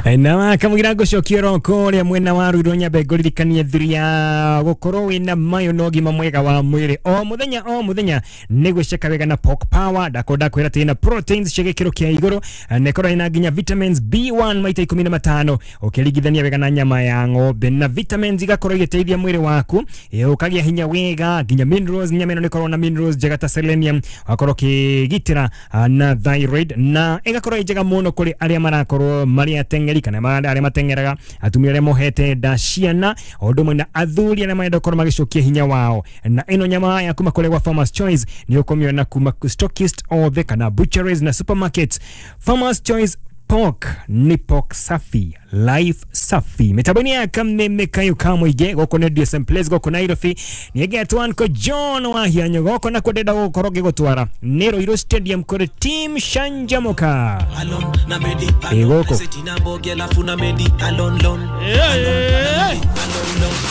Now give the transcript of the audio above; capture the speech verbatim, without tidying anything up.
Na kamũgira ngũcokia oro kũrĩa mwena wa Ruiru nyambe ngũririkanie thiri ya gũkorwo wĩna mayo na ũgima mwega wa mwĩrĩ o mũthenya o mũthenya nĩ gwĩceka wega na Pork Power. Ndakorwo ndakwĩra atĩ ĩna proteins cia gĩkĩro kĩa igũrũ na ĩkorwo ĩna nginya vitamins B one maita ikũmi na matano ũkĩringithania wega na nyama ya ng'ombe, na vitamins igakorwo igĩteithia mwĩrĩ waku ũkagĩa hinya wega, nginya minerals. Nyama ĩno nĩ ĩkoragwo na minerals njega ta selenium, wakorwo ũkĩgitĩra na thyroid, na ĩgakorwo ĩ njega mũno kũrĩ arĩa marakorwo marĩ ateng'eri kana arĩa mateng'eraga, atumia arĩa mohete nda, ciana, o ũndũ ũmwe na athuri arĩa marenda gũkorwo magĩcokia hinya wao. Na ĩno nyama ya kuma kũrĩa gwa Farmers Choice nĩ ũkũmĩona kuma stockist othe kana butcheries na supermarkets. Farmers Choice Pork ni pork safi, life safi. Mitambo-inĩ ya kameme kayo ka mũingĩ gũkũ nĩ D S M Place gũkũ Nairobi. Nĩgetwo Uncle John wa Hianyo gũkũ na ndĩrenda gũkorwo ngĩgũtwara nĩ Ruiru Stadium kũrĩ Team Shanjamuka. Ĩ gũkũ.